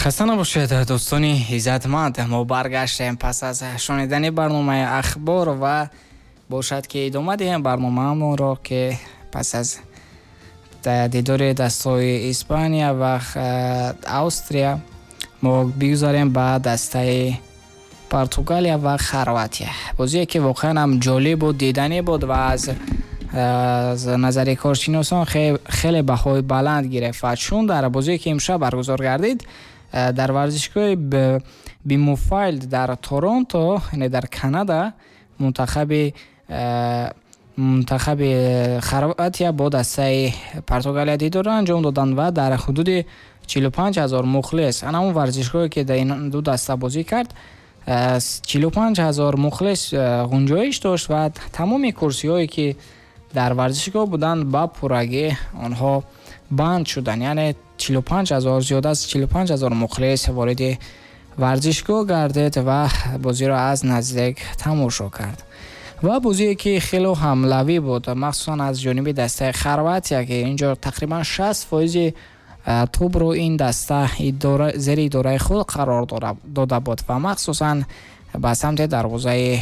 Хаста набошед, дӯстони иззатманд. Мо баргаштем пас аз шунидани барномаи ахбор ва бошад, ки идома диҳем барномаамонро, ки пас аз дидори дастаҳои Испания ва Австрия мо бигузарем ба дастаи Португалия ва Хорватия. Бозие, ки воқеан ҳам ҷолиб буд, диданӣ буд ва аз назари коршиносон хеле баҳои баланд гирифт. Ва чун дар бозие, ки имшаб баргузор гардид дар варзишгоҳи BMO Field дар Торонто, яъне дар Канада, мунтахаби Хорватия бо дастаи Португалия дидорро анҷом доданд ва дар ҳудуди 45 000 мухлис, ана он варзишгоҳе, ки дар ин ду даста бозӣ кард, 45 000 мухлис ғунҷоиш дошт ва тамоми курсиҳое, ки дар варзишгоҳ буданд, ба пуррагӣ онҳо банд шуданд. Яъне 45 000, зиёд аз 45 000 мухлис вориди варзишгоҳ гардид ва бозиро аз наздик тамошо кард. Ва бозие, ки хело ҳамлавӣ буд, махсусан аз ҷониби дастаи Хорватия, ки инҷо тақрибан 60 фоизи тӯбро ин даста зери идораи худ қарор дода буд ва махсусан ба самти дарвозаи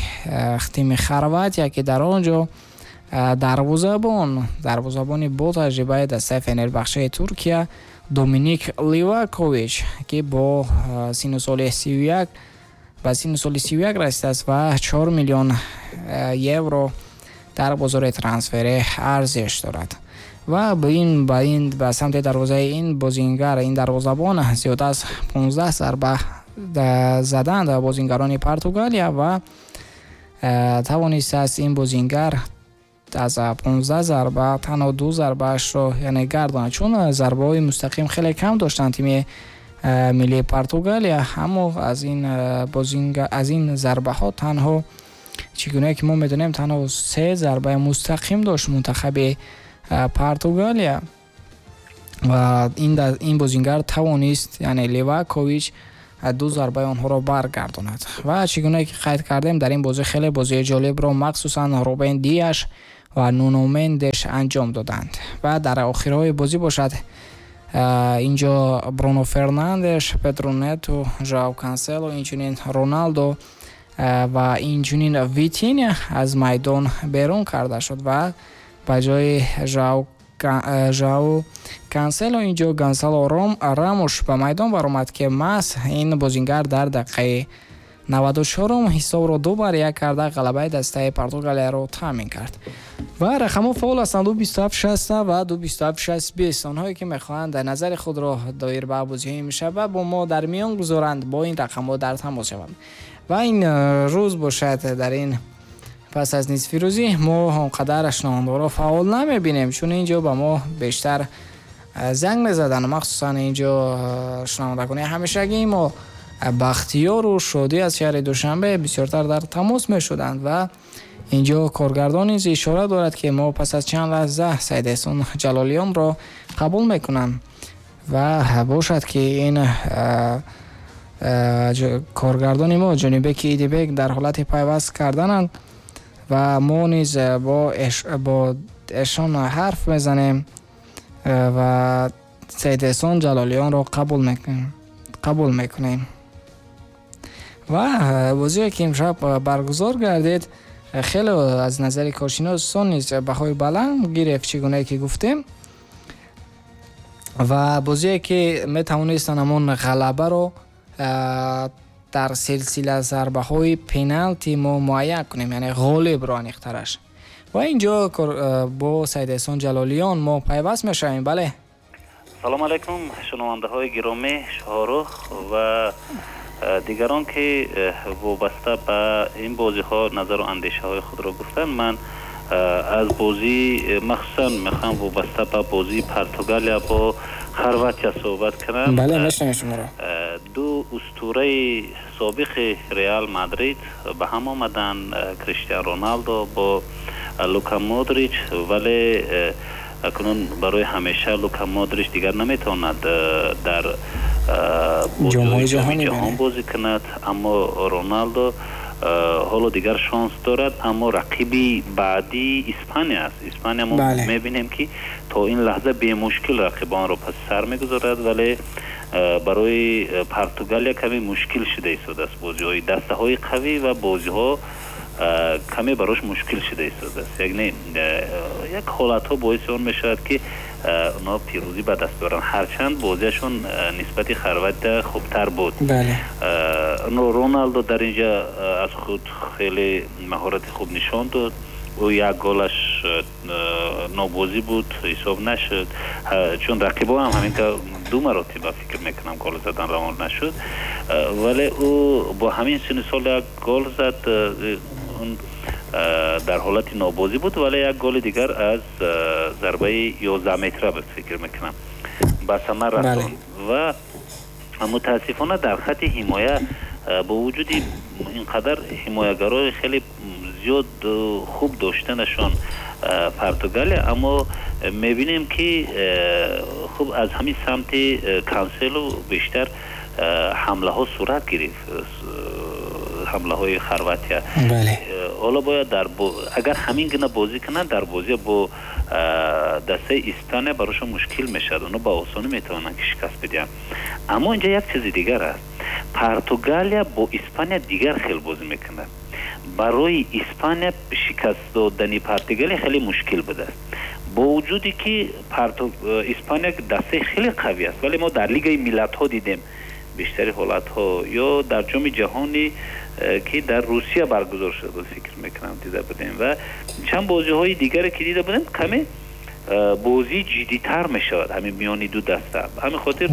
тими Хорватия, ки дар он ҷо дарвозабони бо таҷрибаи дастаи Фенербахчаи Туркия Доминик Ливакович, ки бо сину соли 31, ба сину соли 31 расидааст ва 4 миллион евро дар бозори трансферӣ арзиш дорад, ва ба ин ба самти дарвозаи ин бозингар, ин дарвозабон зиёд аз 15 зарба заданд бозингарони Португалия ва тавонистааст ин бозингар аз 15 зарба танҳо ду зарбаашро, яъне, гардонад, чун зарбаҳои мустақим хеле кам доштанд тими миллии Португалия. Аммо аз ин зарбаҳо танҳо, чӣ гуна ки мо медонем, танҳо се зарбаи мустақим дошт мунтахаби Португалия ва ин бозингар тавонист, яъне Ливакович, ду зарбаи онҳоро баргардонад. Ва чӣ гуна ки қайд кардем, дар ин бозӣ хеле бозии ҷолибро махсусан Рубен Диаш ва Нуно Мендеш анҷом доданд. Ва дар охирҳои бозӣ бошад, инҷо Бруно Фернандеш, Педро Нету, Жоау Кансело, инчунин Роналдо ва инчунин Витиня аз майдон берун карда шуд ва ба ҷои Жоау Кансело инҷо Гонсало Рамуш ба майдон баромад, ки маҳз ин бозингар дар дақиқаи 94-ум ҳисобро 2 бар 1 карда, ғалабаи дастаи Португалияро таъмин кард. Ва рақамҳо фаъол ҳастанд: 2 27 60 ва 2 27 60 20. Онҳое, ки мехоҳанд назари худро доир ба бозиҳои имшаба бо мо дар миён гузоранд, бо ин рақамҳо дар тамос шаванд. Ва ин рӯз бошад, дар ин пас аз нисфирӯзӣ мо он қадар шунавандаро фаъол намебинем, чун инҷо ба мо бештар занг мезаданд, махсусан инҷо шунавандагони ҳамешагии мо Бахтиёру Шодӣ аз шаҳри Душанбе бисёртар дар тамос мешуданд. Ва инҷо коргардон низ ишора дорад, ки мо пас аз чанд лаҳза Саидеҳсон Ҷалолиёнро қабул мекунам. Ва бошад, ки ин коргардони мо Ҷонибеки Идибек дар ҳолати пайваст кардананд ва мо низ бо эшон ҳарф мезанем ва Саидеҳсон Ҷалолиёнро қабул мекунем. Ва бозие, ки имшаб баргузор гардид, хеле аз назари коршиносон низ баҳои баланд гирифт, чӣ гунае ки гуфтем, ва бозие, ки метавонистанд ҳамон ғалабаро дар силсила зарбаҳои пеналти мо муайян кунем, яъне ғолибро аниқтараш. Ва инҷо бо Саидеҳсон Ҷалолиён мо пайваст мешавем, бале. Салом алайкум, шунавандаҳои гиромӣ, Шоҳрух ва дигарон, ки вобаста ба ин бозиҳо назару андешаҳои худро гуфтанд. Ман аз бозӣ махсусан мехоҳам вобаста ба бозии Португалия бо Хорватия суҳбат кунам. Бале, мешунавем шуморо. Ду устураи собиқи Реал Мадрид ба ҳам омаданд, Криштиан Роналдо бо Лука Модрич. Вале акнун барои ҳамеша Лука Модрич дигар наметавонад дар ҷомҳои ҷаҳонӣ ҷаҳон бозӣ кунад, аммо Роналдо ҳоло дигар шонс дорад. Аммо рақиби баъдӣ Испания аст. Испания мо мебинем, ки то ин лаҳза бемушкил рақибонро паси сар мегузорад, вале Барои Португалия каме мушкил шуда истодааст. Бозиҳои дастаҳои қавӣ ва бозиҳо каме барош мушкил шуда истодааст. Яъне як ҳолатҳо боиси он мешавад, ки онҳо пирӯзӣ ба даст биёранд, ҳарчанд бозиашон нисбати Хорватия хубтар буд. Роналдо дар инҷа аз худ хеле маҳорати хуб нишон дод. Ӯ як голаш нобозӣ буд, ҳисоб нашуд, чун рақибо ҳам ҳамин ду маротиба, фикр мекунам, гол задан равон нашуд, вале ӯ бо ҳамин синну сол як гол зад. Он дар ҳолати нобозӣ буд, вале як голи дигар аз зарбаи 11 метра буд, фикр мекунам, ба самар расонд. Ва мутаассифона дар хати ҳимоя бо вуҷуди ин қадар ҳимоягарои хеле зиёд хуб доштанашон Португалия, аммо мебинем, ки хуб аз ҳамин самти Кансело бештар ҳамлаҳо сурат гирифт, ҳамлаҳои Хорватия. Ҳоло бояд агар ҳамин гуна бозӣ кунанд, дар бозия бо дастаи Испания барошон мушкил мешавад, онҳо ба осонӣ метавонанд, ки шикаст бидиҳанд. Аммо инҷа як чизи дигар аст: Португалия бо Испания дигар хел бозӣ мекунад. Барои Испания шикаст додани Португалия хеле мушкил будааст, бо вуҷуде ки Испания дастаи хеле қавӣ аст, вале мо дар Лигаи миллатҳо дидем бештари ҳолатҳо ё дар Ҷоми ҷаҳони, ки дар Русия баргузор шуда буд, фикр мекунам, дида будем ва чанд бозиҳои дигаре, ки дида будем, каме бозӣ ҷиддитар мешавад ҳамин миёни ду даста. Ҳамин хотир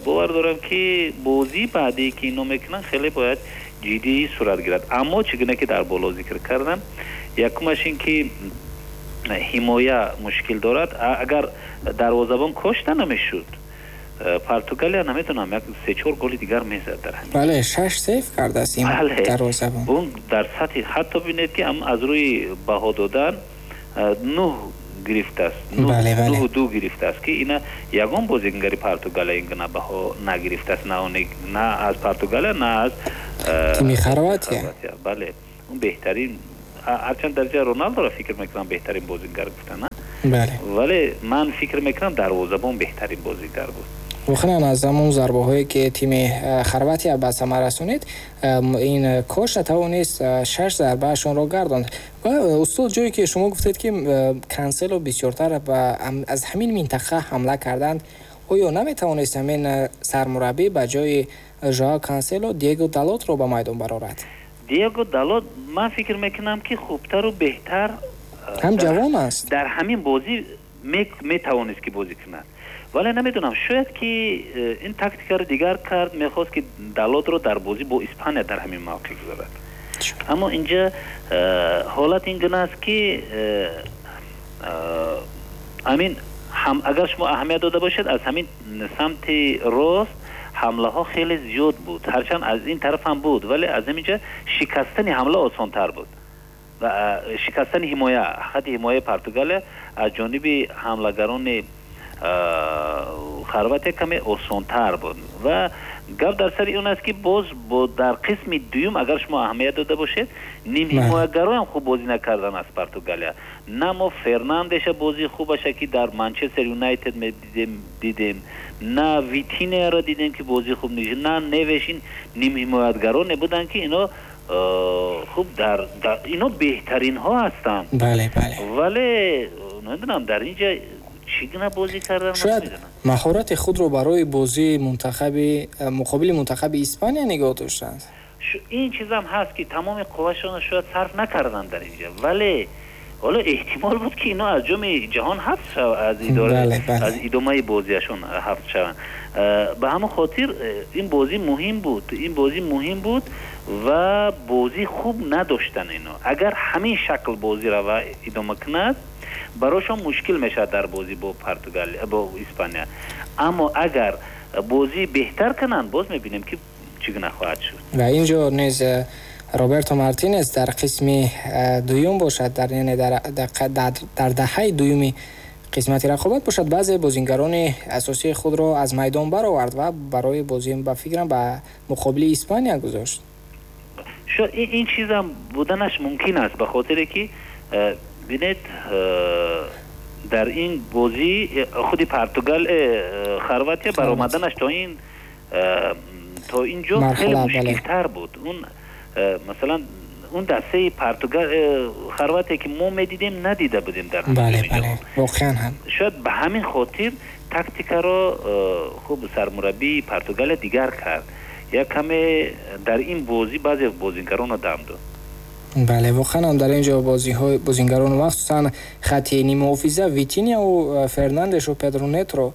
бовар дорам, ки бозии баъдие, ки ино мекунанд, хеле бояд ҷиддӣ сурат гирад. Аммо чӣ гуна ки дар боло зикр кардам, якумаш ин ки ҳимоя мушкил дорад. Агар дарвозабон Кошта намешуд, Португалия, наметонам, як се-чор голи дигар мезад дар ҳамин. Бале, шаш сейв кардааст ин дарвозабон. Он дар сатҳи, ҳатто бинед, ки аз рӯи баҳо додан 9 гирифтааст, 9.2 гирифтааст, ки ина ягон бозигари Португалия ин гуна баҳо нагирифтааст, на аз Португалия, на аз тими Хорватия. Бале, он беҳтарин, ҳарчанд дарҷа Роналдоро, фикр мекунам, беҳтарин бозингар гуфтана, вале ман фикр мекунам, дарвозабон беҳтарин бозингар буд. Воқеан, аз ҳамон зарбаҳое, ки тими Хорватия ба самар расонид, ин Кошта тавонист шаш зарбаашонро гардонд. Ва устод, ҷое ки шумо гуфтед, ки Кансело бисёртар аз ҳамин минтақа ҳамла карданд, оё наметавонист ҳамин сармураббӣ ба ҷои Жоао Кансело Диего Далотро ба майдон барорад? Диего Далот, ман фикр мекунам, ки хубтару беҳтар ҳам ҷавон аст. Дар ҳамин бозӣ метавонист, ки бозӣ кунад, вале намедонам, шояд ки ин тактикаро дигар кард, мехост, ки Далотро дар бозӣ бо Испания дар ҳамин мавқеъ гузорад. Аммо инҷа ҳолат ин гуна аст, ки ҳамин агар шумо аҳамият дода бошед, аз ҳамин самти рост ҳамлаҳо хеле зиёд буд. Ҳарчанд аз ин тараф ҳам буд, вале аз ҳаминҷа шикастани ҳамла осонтар буд ва шикастани ҳимоя, хати ҳимояи Португалия аз ҷониби ҳамлагарони Хорватия каме осонтар буд. Ва гап дар сари он аст, ки боз дар қисми дуюм, агар шумо аҳамият дода бошед, нимҳимоягароям хуб бозӣ накардан аз Португалия. На мо Фернандеша бозии хубаша, ки дар Манчестер Юнайтед дидем, на Витинеяро дидем, ки бозии хуб, на Невеш. Ин нимҳимоятгароне буданд, ки ино хуб дар ино беҳтаринҳо ҳастанд. бале бале Вале намедонам, дар инҷа чӣ гуна бозӣ кардан. Шояд маҳорати худро барои бозии мунтахаби муқобили мунтахаби Испания нигоҳ доштанд. Ин чизам ҳаст, ки тамоми қуввашонро шояд сарф накарданд дар инҷа, вале ҳоло эҳтимол буд, ки ино аз Ҷоми ҷаҳон ҳафт аз идора, аз идомаи бозиашон ҳафт шаванд. Ба ҳамон хотир ин бозӣ муҳим буд, ин бозӣ муҳим буд ва бозӣ хуб надоштан ино. Агар ҳамин шакл бозиро ва идома кунад, барошон мушкил мешавад дар бозӣ бо Португалия, бо Испания. Аммо агар бозӣ беҳтар кунанд, боз мебинем, ки чӣ гуна хоҳад шуд. Ва инҷо низ Роберто Мартинес дар қисми дуюм бошад, дар яъне дар даҳаи дуюми қисмати рақобат бошад, баъзе бозингарони асосии худро аз майдон баровард ва барои бозӣ, ба фикрам, ба муқобили Испания гузошт. Ин чизам буданаш мумкин аст, ба хотире ки бинед. Дар ин бозӣ худи Португал, Хорватия баромаданаш то ин ҷо хеле мушкилтар буд. Он масалан он дастаи Португал, Хорватия, ки мо медидем, надида будем дар бале, бале, воқеан ҳам. Шояд ба ҳамин хотир тактикаро хуб сармураббии Португалия дигар кард, як каме дар ин бозӣ баъзе бозигаронро дам дод. Бале, воқеан ҳам, дар ин ҷо бозиҳои бозингарон, махсусан хати ниммуҳофиза, Витиньяву Фернандешу Педро Нетро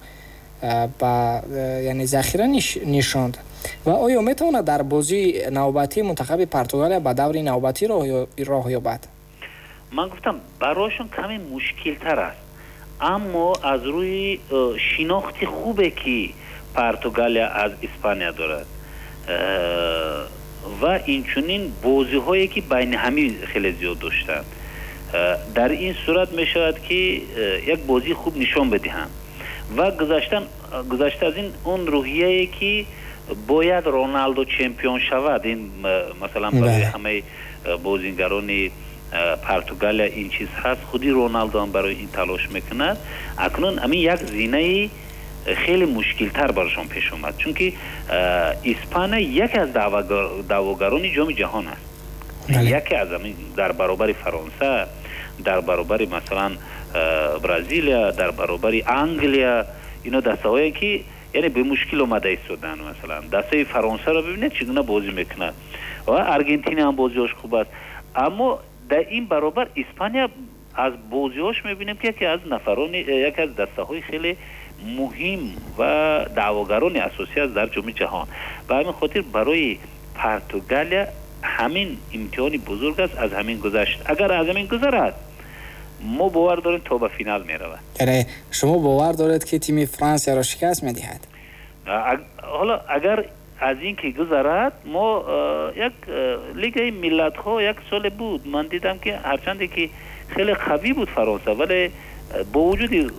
ба, яъне, захира нишонд. Ва оё метавонад дар бозии навбатӣ мунтахаби Португалия ба даври навбатӣ роҳ ёбад? Ман гуфтам, барояшон каме мушкилтар аст, аммо аз рӯи шинохти хубе, ки Португалия аз Испания дорад, ва инчунин бозиҳое, ки байни ҳамӣ хеле зиёд доштанд, дар ин сурат мешавад, ки як бозии хуб нишон бидиҳанд. Ва гузашта аз ин, он рӯҳияе, ки бояд Роналдо чемпион шавад, ин масалан барои ҳамаи бозингарони Португалия ин чиз ҳаст. Худи Роналдо ҳам барои ин талош мекунад. Акнун ҳамин як зинаи хеле мушкилтар барошон пеш омад, чунки Испания яке аз даъвогарони Ҷоми Ҷаҳон аст, яке аз дар баробари Фаронса, дар баробари масалан Бразилия, дар баробари Англия. Ино дастаҳое, ки яъне бемушкил омада истоданд. Масалан, дастаи Фаронсаро бибинед, чӣ гуна бозӣ мекунад, ва Аргентина ҳам бозиҳош хуб аст. Аммо дар ин баробар Испания аз бозиҳош мебинем, ки яке аз нафарони, яке аз дастаҳои хеле муҳим ва даъвогарони асосӣ аст дар Ҷоми Ҷаҳон. Ба ҳамин хотир барои Португалия ҳамин имтиҳони бузург аст. Аз ҳамин гузашт, агар аз ҳамин гузарад, мо бовар дорем, то ба финал меравад. Яъне шумо бовар доред, ки тими Франсияро шикаст медиҳад? Ҳоло агар аз ин ки гузарад, мо як Лигаи Миллатҳо як соле буд, ман дидам, ки ҳарчанде ки хеле қавӣ буд Фаронса, вале бо вуҷуди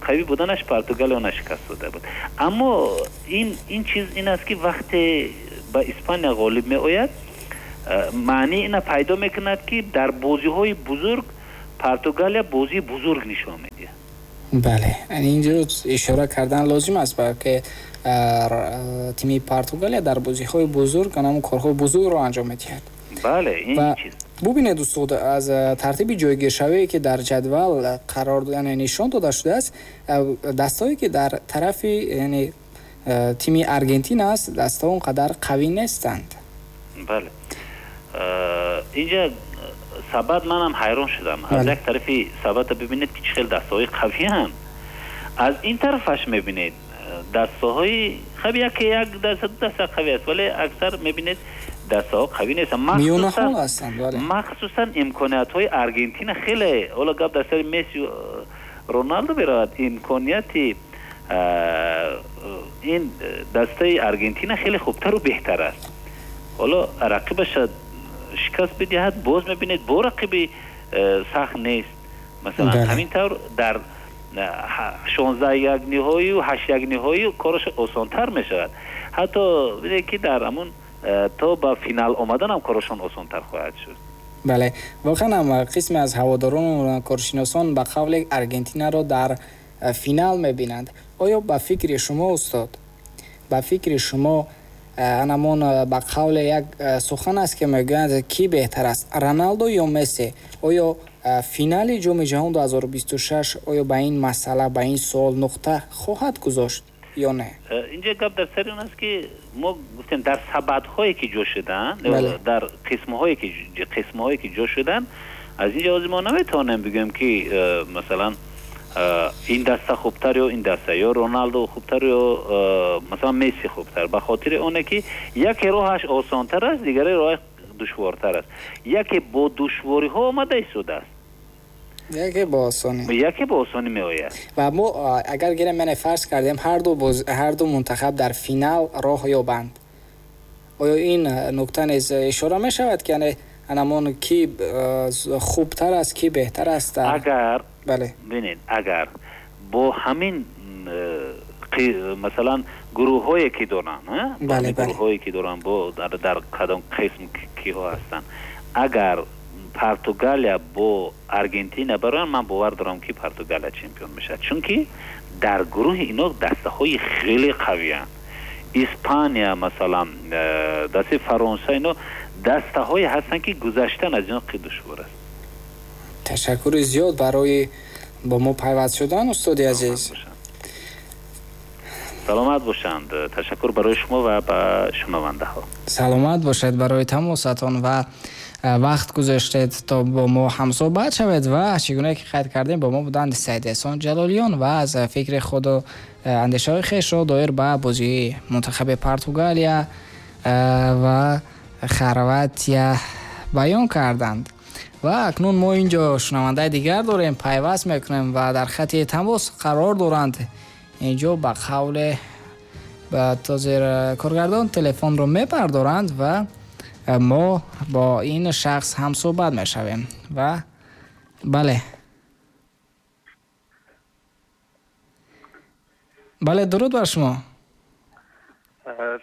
қавӣ буданаш Португалия она шикаст дода буд. Аммо ин чиз ин аст, ки вақте ба Испания ғолиб меояд, маънии ина пайдо мекунад, ки дар бозиҳои бузург Португалия бозии бузург нишон медиҳад. Бале, инҷо ишора кардан лозим аст, ки тими Португалия дар бозиҳои бузург ҳамон корҳои бузургро анҷом медиҳад. Бале, ин чиз. Бубинед, устод, аз тартиби ҷойгиршавие, ки дар ҷадвал қарор, яъне нишон дода шудааст, дастҳое, ки дар тарафи, яъне, тими Аргентина аст, дастҳо он қадар қавӣ нестанд. Бале, инҷа сабад манам ҳайрон шудам. Аз як тарафи сабада бибинед, ки чӣ хел дастаҳои қавианд, аз ин тарафаш мебинед, дастаҳои хаб яке як даста, ду даста қавӣ аст, вале аксар мебинед, дастаҳо қавӣ нестанд. Миёнаҳол ҳастанд, бале. Махсусан имкониятҳои Аргентина хеле, ҳоло гап дар сари Месси, Роналдо меравад, имконияти ин дастаи Аргентина хеле хубтару беҳтар аст. Ҳоло рақибаша шикаст бидиҳад, боз мебинед, бо рақиби сахт нест. Масалан, ҳамин тавр дар 16 як ниҳоию 8 як ниҳоӣ кораш осонтар мешавад. Ҳатто бинед, ки дар ҳамун то ба финал омадан ҳам корашон осонтар хоҳад шуд. Бале, воқеан ҳам, қисме аз ҳаводорон, коршиносон ба қавли Аргентинаро дар финал мебинанд. Оё ба фикри шумо, устод, ба фикри шумо, анамон ба қавле як сухан аст, ки мегӯянд, ки беҳтар аст, Роналдо ё Месси, оё финали Ҷоми Ҷаҳон 2026 оё ба ин масъала, ба ин суол нуқта хоҳад гузошт ё не? Инҷа гап дар сари он аст, ки мо гуфтем, дар сабадҳое, ки ҷо шуданд, дар қисмҳое, ки ҷо шуданд, аз ин ҷо мо наметавонем бигӯем, ки масалан ин даста хубтар ё ин даста, ё Роналдо хубтар, ё масалан Месси хубтар, ба хотири оне ки яке роҳаш осонтар аст, дигаре роҳаш душвортар аст. Яке бо душвориҳо омада истодааст, яке бо осонӣ. Яке бо осонӣ меояд. Ва мо агар гирем, яъне фарз кардем, ҳарду мунтахаб дар финал роҳ ёбанд, оё ин нукта низ ишора мешавад, ки яъне анамон ки хубтар аст, ки беҳтар аст? Агар бинед, агар бо ҳамин масалан гурӯҳҳое, ки доранд, гурӯҳҳое, ки доранд, бо дар кадом қисм киҳо ҳастанд, агар Португалия бо Аргентина бароянд, ман бовар дорам, ки Португалия чемпион мешавад, чунки дар гурӯҳи ино дастаҳои хеле қавиянд. Испания, масалан, дастаи Фаронса, ино дастаҳое ҳастанд, ки гузаштан аз ино хеле душвор аст. Ташаккури зиёд барои бо мо пайваст шудан, устоди азиз. Саломат бошанд. Ташаккур барои шумо ва ба шунавандаҳо. Саломат бошед барои тамосатон ва вақт гузоштед, то бо мо ҳамсӯҳбат шавед. Ва чӣ гуна ки қайд кардем, бо мо буданд Саид Эҳсон Ҷалолиён ва аз фикри худу андешаҳои хешро доир ба бозии мунтахаби Португалия ва Хорватия баён карданд. Ва акнун мо инҷо шунавандаи дигар дорем, пайваст мекунем ва дар хати тамос қарор доранд. Инҷо ба қавле ба тозир коргардон телефонро мебардоранд ва мо бо ин шахс ҳамсӯҳбат мешавем. Ва бале, бале, дуруд бар шумо.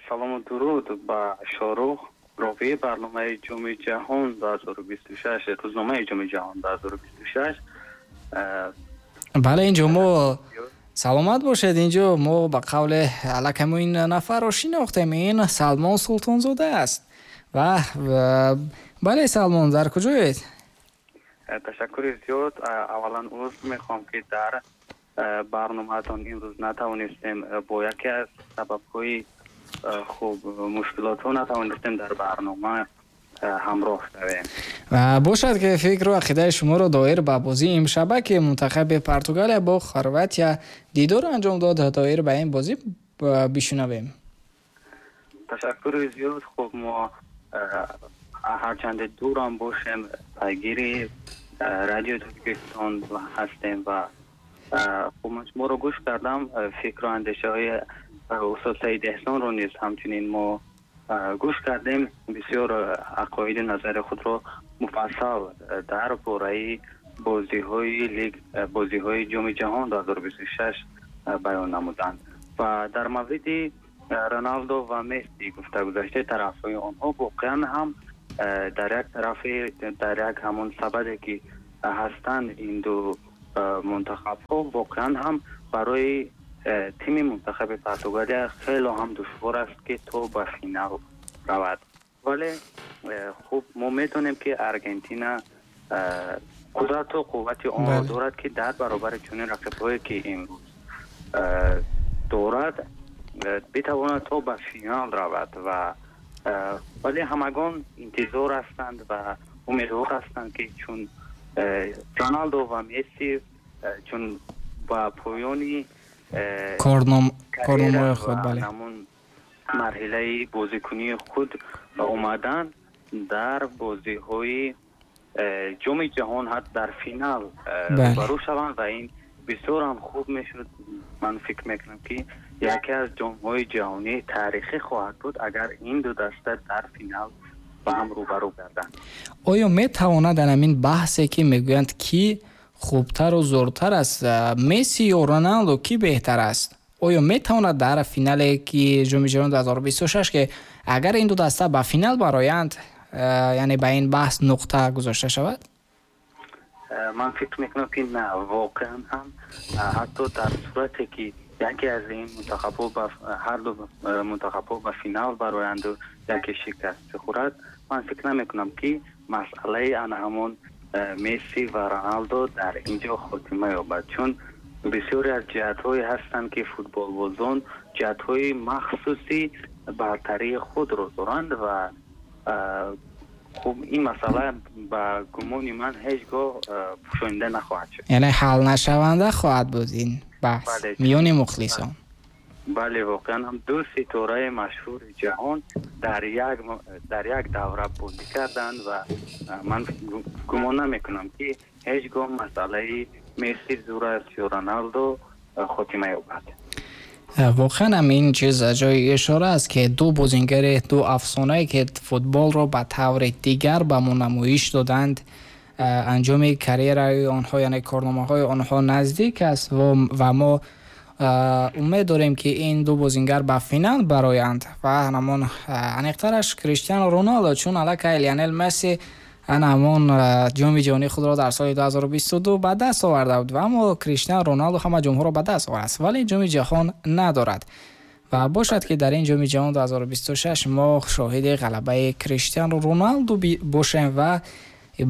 Салому дуруд ба Шорух, ровии барномаи Ҷоми ҷаҳон 2026, рӯзномаи Ҷоми ҷаҳон 2026. Бале, инҷо мо, саломат бошед, инҷо мо ба қавле аллакай мо ин нафарро шинохтем, ин Салмон Султонзода аст. Ва бале, Салмон, дар куҷоед? Ташаккури зиёд. Аввалан узр мехоҳам, ки дар барномаатон имрӯз натавонистем, бо яке аз сабабҳои хуб мушкилотҳо натавонистем дар барнома ҳамроҳ шавем. Бошад ки фикру ақидаи шуморо доир ба бозии имшаба, ки мунтахаби Португалия бо Хорватия дидор анҷом дод, доир ба ин бозӣ бишунавем. Ташаккури зиёд. Хуб, мо ҳарчанде дурам бошем, пайгири Радиои Тоҷикистон ҳастем ва хуб, ман шуморо гӯш кардам, фикру андешаҳои устод Саид Эҳсонро низ ҳамчунин мо гӯш кардем. Бисёр ақоиди назари худро муфассал дар бораи бозиҳои лиг, бозиҳои Ҷоми ҷаҳон 2026 баён намуданд ва дар мавриди Роналдо ва Месси гуфта гузашта, тарафҳои онҳо воқеан ҳам дар як тарафи, дар як ҳамон сабаде ки ҳастанд ин ду мунтахабҳо, воқеан ҳам барои тими мунтахаби Португалия хеле ҳам душвор аст, ки то ба финал равад. Вале хуб, мо медонем, ки Аргентина қудрату қуввати онро дорад, ки дар баробари чунин рақибҳое ки имрӯз дорад, битавонад то ба финал равад. Ва вале ҳамагон интизор ҳастанд ва умедвор ҳастанд, ки чун Роналдо ва Месси чун ба поёни корномаи худ, бале, ҳамон марҳилаи бозикунии худ омаданд, дар бозиҳои Ҷоми ҷаҳон ҳатто дар финал рӯбарӯ шаванд ва ин бисёр ҳам хуб мешуд. Ман фикр мекунам, ки яке аз ҷомҳои ҷаҳонии таърихӣ хоҳад буд, агар ин ду даста дар финал ба ҳам рӯбарӯ гарданд. Оё метавонад дар ҳамин баҳсе, ки мегӯянд, ки хубтару зӯртар аст, Месси ё Роналдо, ки беҳтар аст, оё метавонад дар финале ки Ҷоми ҷаҳон 2026, ки агар ин ду даста ба финал бароянд, яъне ба ин баҳс нуқта гузошта шавад? Ман фикр мекунам, ки на, воқеан ҳам ҳатто дар сурате ки яке аз ин мунтахабҳо ба ҳар ду мунтахабҳо ба финал бароянду яке шикаст бихӯрад, ман фикр намекунам, ки масъалаи ана ҳамон Месси ва Роналдо дар инҷо хотима ёбад, чун бисёре аз ҷиҳатҳое ҳастанд, ки футболбозон ҷиҳатҳои махсуси бартарии худро доранд ва хуб, ин масъала ба гумони ман ҳеҷ гоҳ пӯшонида нахоҳад шуд. Яъне ҳалнашаванда хоҳад буд ин баҳс миёни мухлисон. Бале, воқеан ҳам ду ситораи машҳури ҷаҳон дар як давра бозӣ карданд ва ман гумон намекунам, ки ҳеҷ гоҳ масъалаи Месси зур аст ё Роналдо хотима ёбад. Воқеан ҳам ин чиз ҷои ишора аст, ки ду бозингари, ду афсонае, ки футболро ба таври дигар ба мо намоиш доданд, анҷоми карьераи онҳо, яъне корномаҳои онҳо наздик аст ва мо умед дорем, ки ин ду бозингар ба финал бароянд ва ҳамон аниқтараш Криштиану Роналдо, чун аллакай Лионел Месси ҳамон ҷоми ҷаҳонии худро дар соли 2022 ба даст оварда буд, аммо Криштиану Роналду ҳама ҷомҳоро ба даст овардааст, вале ҷоми ҷаҳон надорад. Ва бошад, ки дар ин ҷоми ҷаҳон 2026 мо шоҳиди ғалабаи Криштиану Роналду бошем ва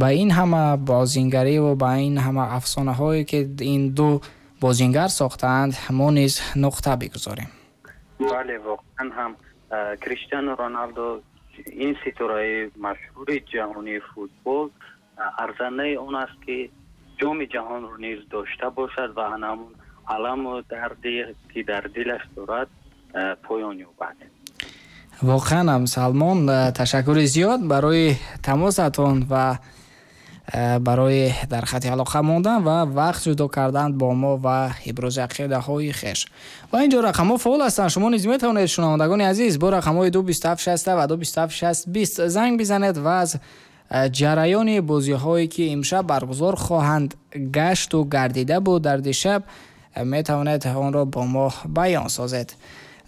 ба ин ҳама бозингарӣ ва ба ин ҳама афсонаҳое, ки ин ду бозингар сохтаанд, мо низ нуқта бигузорем. Бале, воқеан ҳам Криштиану Роналду, ин ситораи машҳури ҷаҳонии футбол, арзандаи он аст, ки ҷоми ҷаҳонро низ дошта бошад ва ҳамон аламу дарде, ки дар дилаш дорад, поён ёбад. Воқеан ҳам, Салмон, ташаккури зиёд барои тамосатон ва барои дар хати алоқа мондан ва вақт ҷудо кардан бо мо ва ибрози ақидаҳои хеш. Ва инҷо рақамҳо фаъол ҳастанд. Шумо низ метавонед, шунавандагони азиз, бо рақамҳои 227 60 ва 227 60 20 занг бизанед ва аз ҷараёни бозиҳое, ки имшаб баргузор хоҳанд гашту гардида буд дар дишаб, метавонед онро бо мо баён созед.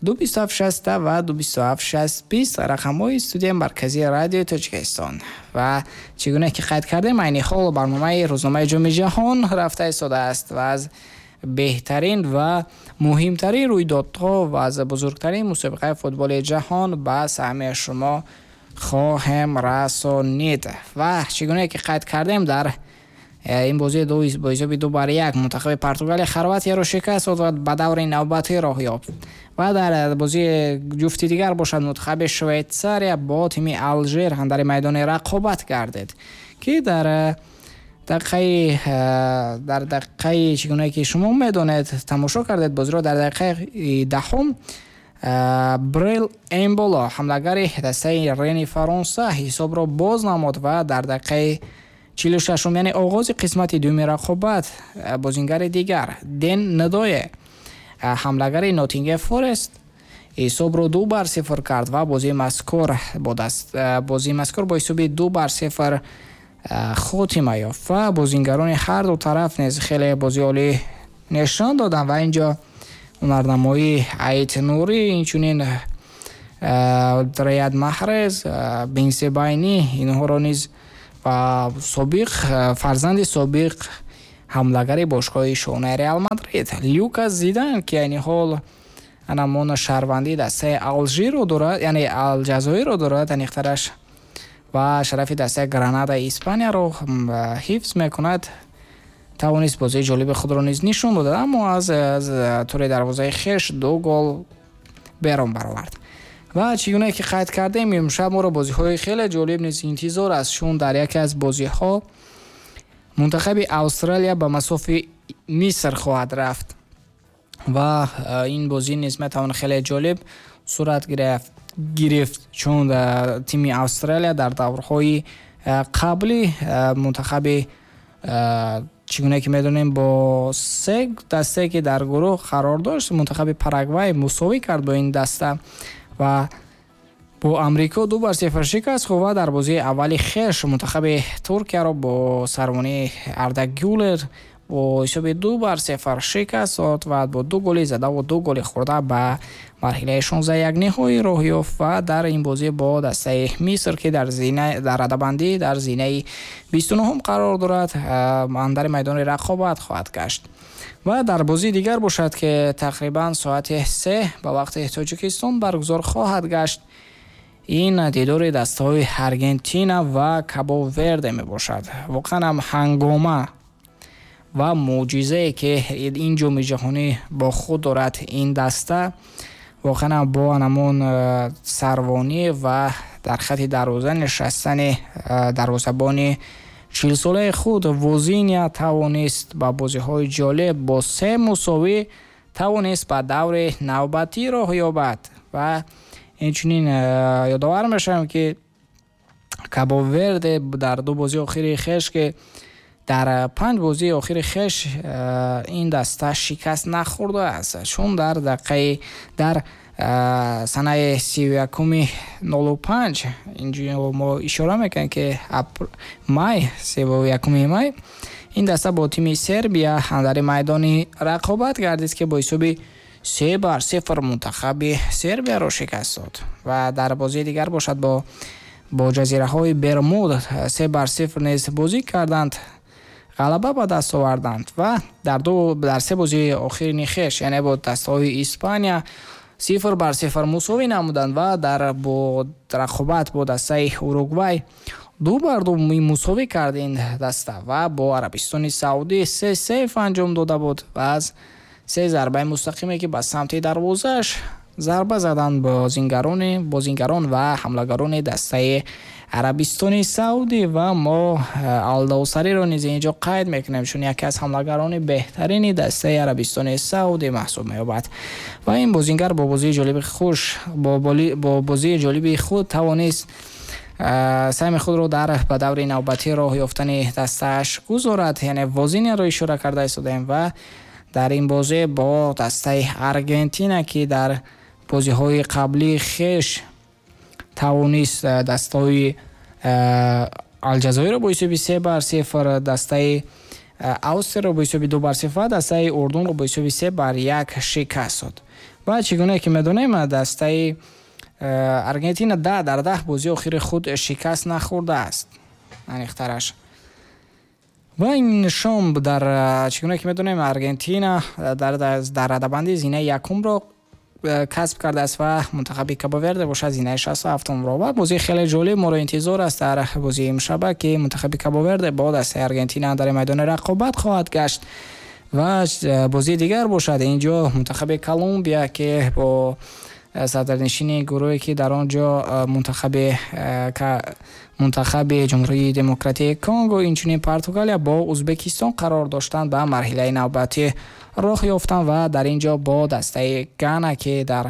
227 60 ва 227 60 20 рақамҳои студияи марказии Радиои Тоҷикистон. Ва чӣ гуна ки қайд кардем, айни ҳол барномаи рӯзномаи ҷоми ҷаҳон рафта истодааст ва аз беҳтарин ва муҳимтарин рӯйдодҳо ва аз бузургтарин мусобиқаи футболи ҷаҳон ба саҳми шумо хоҳем расонид. Ва чӣ гуна ки қайд кардем, дар ин бозӣ бо ҳисоби 2-1 мунтахаби Португалия Хорватияро шикаст дод ва ба даври навбатӣ роҳ ёфт. Ва дар бозии ҷуфти дигар бошад, мунтахаби Швейтсария бо тими Алжир дар майдони рақобат гардид, ки дар дақиқаи, чӣ гуна ки шумо медонед, тамошо кардед бозиро, дар дақиқаи 10-ум Брел Эмболо, ҳамлагари дастаи Рени Фаронса, ҳисобро боз намуд ва дар дақиқаи 46-ум, яъне оғози қисмати дуюми рақобат, бозингари дигар Ден Ндое, ҳамлагари Ноттингем Форест, ҳисобро 2-0 кард ва бозии мазкур бо ҳисоби 2-0 хотима ёфт. Ва бозингарони ҳар ду тараф низ хеле бозии олӣ нишон доданд ва инҷо ҳунарнамоии Айт Нурӣ, инчунин Рияд Маҳрез, Бенсебайни, инҳоро низ ва собиқ фарзанди собиқ ҳамлагари бошгоҳи шонаи Реал Мадрид Люкас Зидан, ки айни ҳол анамон шаҳрвандии дастаи Алжирро дорад, яъне Алҷазоирро дорад аниқтараш, ва шарафи дастаи Гранадаи Испанияро ҳифз мекунад, тавонист бозии ҷолиби худро низ нишон додад, аммо аз тури дарвозаи хеш ду гол берун баровард. Ва чӣ гуна ки қайд кардем, имшаб моро бозиҳои хеле ҷолиб низ интизор аст, чун дар яке аз бозиҳо мунтахаби Австралия ба масофи Миср хоҳад рафт ва ин бозӣ низ метавон хеле ҷолиб сурат гирифт, чун тими Австралия дар даврҳои қаблӣ мунтахаби, чӣ гуна ки медонем, бо се дастае, ки дар гурӯҳ қарор дошт, мунтахаби Парагвай мусовӣ кард бо ин даста ва бо Амрико 2-0 шикаст хӯрд ва дар бозии аввали хеш мунтахаби Туркияро бо сарвонии Арда Гюлер бо ҳисоби 2-0 шикаст дод ва бо ду голи задаву ду голи хӯрда ба марҳилаи 16 ниҳоӣ роҳ ёфт. Ва дар ин бозӣ бо дастаи Миср, ки дар радабандӣ дар зинаи 29-ум қарор дорад, андари майдони рақобат хоҳад гашт. Ва дар бозии дигар бошад, ки тақрибан соати 3 ба вақти Тоҷикистон баргузор хоҳад гашт, ин дидори дастаҳои Аргентина ва Кабо Верде мебошад. Воқеан ҳам ҳангома ва мӯъҷизае, ки ин ҷоми ҷаҳонӣ бо худ дорад, ин даста воқеан ҳам бо ҳамон сарвонӣ ва дар хати дарвоза нишастани дарвозабони 40-солаи худ Возиня тавонист ба бозиҳои ҷолиб бо се мусовӣ тавонист ба даври навбатӣ роҳ ёбад. Ва инчунин ёдовар мешавем, ки Кабо Верде дар ду бозии охири хеш, ки дар панҷ бозии охири хеш ин даста шикаст нахӯрдааст, чун дар дақиқаи дар санаи 31-05, инҷо мо ишора мекунем, ки май, 31 май, ин даста бо тими Сербия дар майдони рақобат гардид, ки бо ҳисоби 3-0 мунтахаби Сербияро шикаст дод. Ва дар бозии дигар бошад, бо Бо ҷазираҳои Бермуд 3-0 низ бозӣ карданд, ғалаба ба даст оварданд ва дар се бозии охирини хеш, яъне бо дастаҳои Испания 0-0 мусовӣ намуданд ва дар бо рақобат бо дастаи Уругвай 2-2 мусовӣ кард ин даста ва бо Арабистони Саудӣ 3-0 анҷом дода буд ва аз се зарбаи мустақиме, ки ба самти дарвозааш зарба заданд бозингарон ва ҳамлагарони дастаи Арабистони Саудӣ. Ва мо Алдаусариро низ инҷо қайд мекунем, чун яке аз ҳамлагарони беҳтарини дастаи Арабистони Саудӣ маҳсуб меёбад ва ин бозингар бо бозии ҷолиби хуш бо бозии ҷолиби худ тавонист саҳми худро дар ба даври навбатӣ роҳ ёфтани дастааш гузорад. Яъне Возиниро ишора карда истодаем ва дар ин бозӣ бо дастаи Аргентина, ки дар бозиҳои қаблии хеш тавонист дастаҳои Алҷазоирро бо ҳисоби 3-0, дастаи Австрияро бо ҳисоби 2-0 ва дастаи Урдунро бо ҳисоби 3-1 шикаст дод. Ва чӣ гуна ки медонем, дастаи Аргентина 10 дар 10 бозии охири худ шикаст нахӯрдааст, аниқтараш. Ва ин шом дар чӣ гуна ки медонем, Аргентина дар радабанди зинаи якумро касб кардааст ва мунтахаби Кабоверде бошад зинаи 67-умро. Ва бозии хеле ҷолиб моро интизор аст дар бозии имшаба, ки мунтахаби Кабоверде бо дастаи Аргентина дар майдони рақобат хоҳад гашт. Ва бозии дигар бошад инҷо мунтахаби Колумбия, ки бо садрнишини гурӯҳе, ки дар он ҷо мунтахаби Ҷумҳурии Демократии Конго, инчунин Португалия бо Узбекистон қарор доштанд, ба марҳилаи навбатӣ роҳ ёфтанд ва дар ин ҷо бо дастаи Гана, ки дар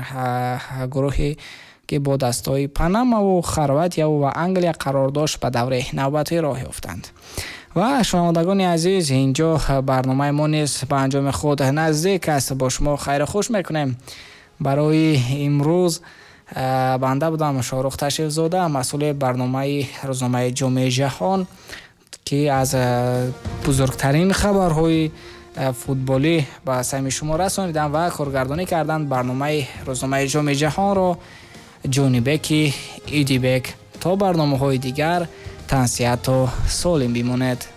гурӯҳе ки бо дастаҳои Панамаву Хорватияву ва Англия қарор дошт, ба даври навбатӣ роҳ ёфтанд. Ва шунавандагони азиз, инҷо барномаи мо низ ба анҷоми худ наздик аст. Бо шумо хайру хуш мекунем. Барои имрӯз банда будам Шоҳрух Ташрифзода, масъули барномаи рӯзномаи Ҷомеи Ҷаҳон, ки аз бузургтарин хабарҳои футболӣ ба самъи шумо расонидам ва коргардонӣ карданд барномаи рӯзномаи Ҷомеи Ҷаҳонро Ҷонибеки Идибек. То барномаҳои дигар тансиҳату солим бимонед.